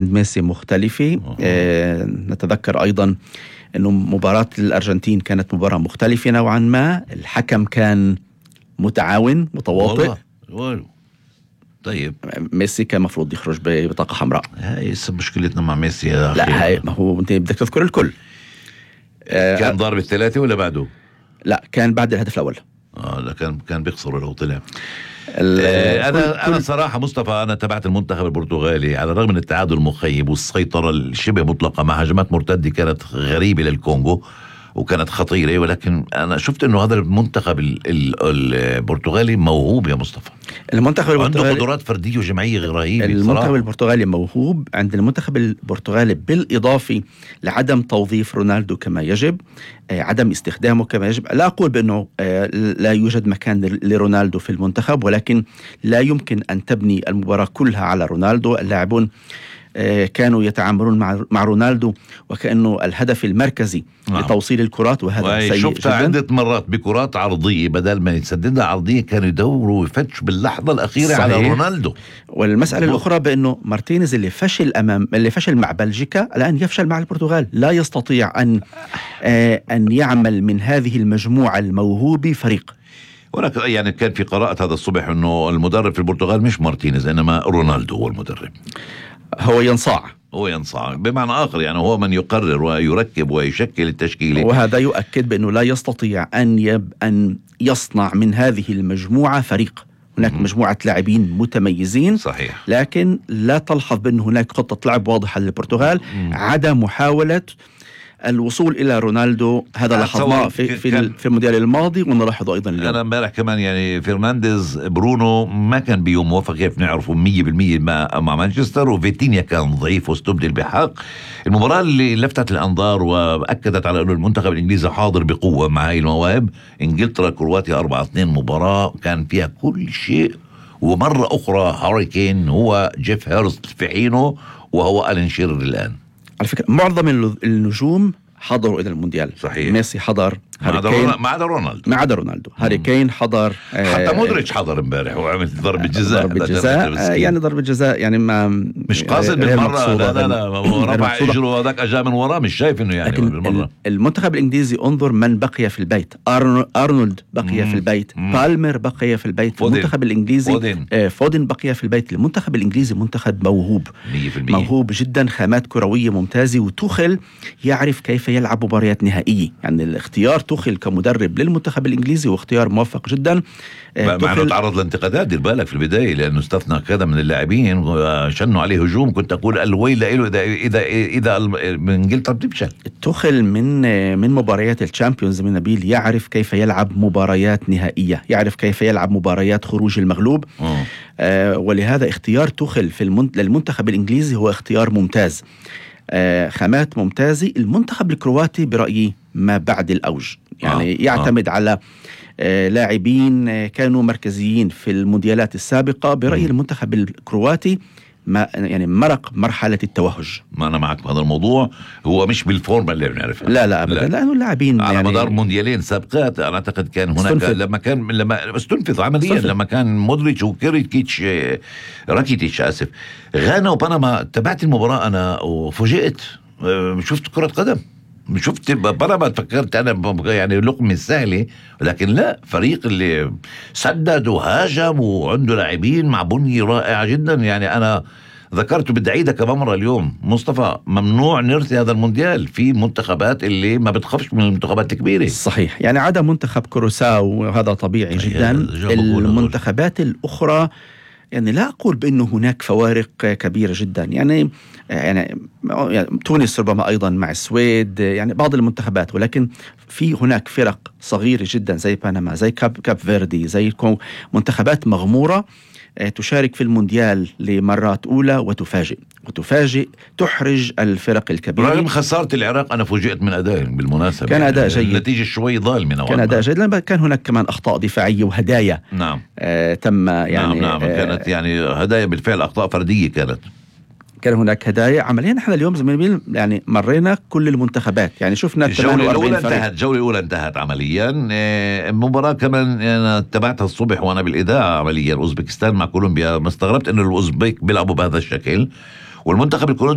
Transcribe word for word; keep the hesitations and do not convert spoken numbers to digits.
ميسي مختلفة. آه نتذكر أيضا أنه مباراة الأرجنتين كانت مباراة مختلفة نوعا ما. الحكم كان متعاون متواطئ. والله طيب ميسي كان مفروض يخرج ببطاقة حمراء. هاي مشكلتنا مع ميسي يا أخي. لا هاي ما هو أنت بدك تذكر الكل. آه كان ضارب الثلاثة ولا بعده؟ لا كان بعد الهدف الأول. اه لا كان كان بيخسر لو طلع. آه انا انا صراحه مصطفى انا تبعت المنتخب البرتغالي على الرغم من التعادل المخيب والسيطره الشبه مطلقه مع هجمات مرتده كانت غريبه للكونغو وكانت خطيره، ولكن انا شفت انه هذا المنتخب ال ال البرتغالي موهوب يا مصطفى. المنتخب البرتغالي عنده قدرات فرديه وجماعيه رهيبه. المنتخب صراحة. البرتغالي موهوب. عند المنتخب البرتغالي بالاضافه لعدم توظيف رونالدو كما يجب، آه عدم استخدامه كما يجب. لا اقول بانه آه لا يوجد مكان لرونالدو في المنتخب، ولكن لا يمكن ان تبني المباراه كلها على رونالدو. اللاعبون كانوا يتعاملون مع مع رونالدو وكأنه الهدف المركزي نعم. لتوصيل الكرات، وهذا سيء شفت جدا. عدة مرات بكرات عرضية بدل ما يتسددها عرضية كانوا يدوروا ويفتشوا باللحظة الأخيرة صحيح. على رونالدو. والمسألة مبروك. الأخرى بأنه مارتينيز اللي فشل أمام اللي فشل مع بلجيكا الآن يفشل مع البرتغال. لا يستطيع أن آه أن يعمل من هذه المجموعة الموهوبة فريق. ولك يعني كان في قراءة هذا الصبح أنه المدرب في البرتغال مش مارتينيز إنما رونالدو هو المدرب. هو ينصاع هو ينصاع بمعنى آخر، يعني هو من يقرر ويركب ويشكل التشكيلة، وهذا يؤكد بأنه لا يستطيع أن يب أن يصنع من هذه المجموعة فريق. هناك م- مجموعة لاعبين متميزين صحيح، لكن لا تلحظ بأن هناك خطة لعب واضحة للبرتغال. م- عدم محاولة الوصول إلى رونالدو هذا لاحظناه في في, في المونديال الماضي ونلاحظه أيضا اليوم. أنا امبارح كمان يعني فرنانديز برونو ما كان بيوم موفق كيف نعرفه مية بالمية مع, مع مانشستر، وفيتينيا كان ضعيف واستبدل بحق. المباراة اللي لفتت الأنظار وأكدت على أنه المنتخب الإنجليزي حاضر بقوة مع هاي المواهب إنجلترا كرواتيا أربعة اثنين. مباراة كان فيها كل شيء، ومرة أخرى هاري كين هو جيف هيرست في حينه وهو ألين شيرر الآن. على فكرة معظم النجوم حضروا إلى المونديال. صحيح. ميسي حضر، ما عدا رونالدو ما عدا رونالدو هاري كين حضر، حتى مودريتش حضر امبارح وعمل ضربة جزاء. ضربة جزاء يعني ضربة جزاء يعني ما مش قاصد بالمرة. لا لا لا رفع اجره وهذاك اجا من وراه مش شايف انه يعني بالمرة. المنتخب الانجليزي انظر من بقي في البيت. ارنولد بقي مم. في البيت. مم. بالمر بقي في البيت. فودن. المنتخب الانجليزي فودن. آه فودن بقي في البيت. المنتخب الانجليزي منتخب موهوب مية بالمية. موهوب جدا، خامات كروية ممتازة، وتوخل يعرف كيف يلعب مباريات نهائية. يعني الاختيار توخل كمدرب للمنتخب الانجليزي واختيار موفق جدا. آه مع انه تعرض لانتقادات دير بالك في البدايه لانه استثنى كذا من اللاعبين وشنوا عليه هجوم. كنت اقول الويل له اذا اذا اذا من انجلترا بتفشل. توخل من من مباريات الشامبيونز من نبيل يعرف كيف يلعب مباريات نهائيه، يعرف كيف يلعب مباريات خروج المغلوب. آه ولهذا اختيار توخل في المنت... للمنتخب الانجليزي هو اختيار ممتاز. آه خامات ممتازه. المنتخب الكرواتي برايي ما بعد الاوج، يعني آه. يعتمد آه. على آه لاعبين آه كانوا مركزيين في المونديالات السابقة. برأيي م. المنتخب الكرواتي ما يعني مرق مرحلة التوهج. ما أنا معك بهذا الموضوع. هو مش بالفورمة اللي بنعرفها. لا لا أبدا، لأنه اللاعبين على يعني مدار مونديالين سابقات أنا أعتقد كان هناك استنفذ. لما كان لما استنفذ عمليا استنفذ. لما كان مودريتش وكيريتش راكيتيتش آسف غانا وبنما. تابعت المباراة أنا وفوجئت، شفت كرة قدم، شفت بنما فكرت أنا يعني لقمة سهلة، لكن لا، فريق اللي سدد وهاجم وعنده لاعبين مع بنية رائعة جدا. يعني أنا ذكرت بدي أعيدها كمان مرة اليوم مصطفى، ممنوع نرثي هذا المونديال في منتخبات اللي ما بتخافش من المنتخبات الكبيرة. صحيح، يعني عدا منتخب كوروساو وهذا طبيعي جدا. المنتخبات الأخرى يعني لا أقول بأنه هناك فوارق كبيرة جدا. يعني يعني, يعني تونس ربما أيضا مع السويد، يعني بعض المنتخبات، ولكن في هناك فرق صغيرة جدا زي بنما، زي كاب كاب فيردي، زي منتخبات مغمورة تشارك في المونديال لمرات أولى وتفاجئ وتفاجئ تحرج الفرق الكبيرة. رغم خسارة العراق أنا فوجئت من أدائهم بالمناسبة. كان أداء جيد، النتيجة شوي ظالمة، كان أداء جيد، لأن كان هناك كمان أخطاء دفاعية وهدايا. نعم آه تم يعني نعم نعم آه كانت يعني هدايا بالفعل، أخطاء فردية كانت. كان هناك هدايا عمليا. نحن اليوم زميلي يعني مرينا كل المنتخبات، يعني شفنا الجولة الأولى انتهت الجولة الأولى انتهت عمليا. المباراة كمان أنا تابعتها الصبح وأنا بالإذاعة عمليا. أوزبكستان مع كولومبيا، ما استغربت إنه الأوزبك بيلعبوا بهذا الشكل، والمنتخب الكرواتي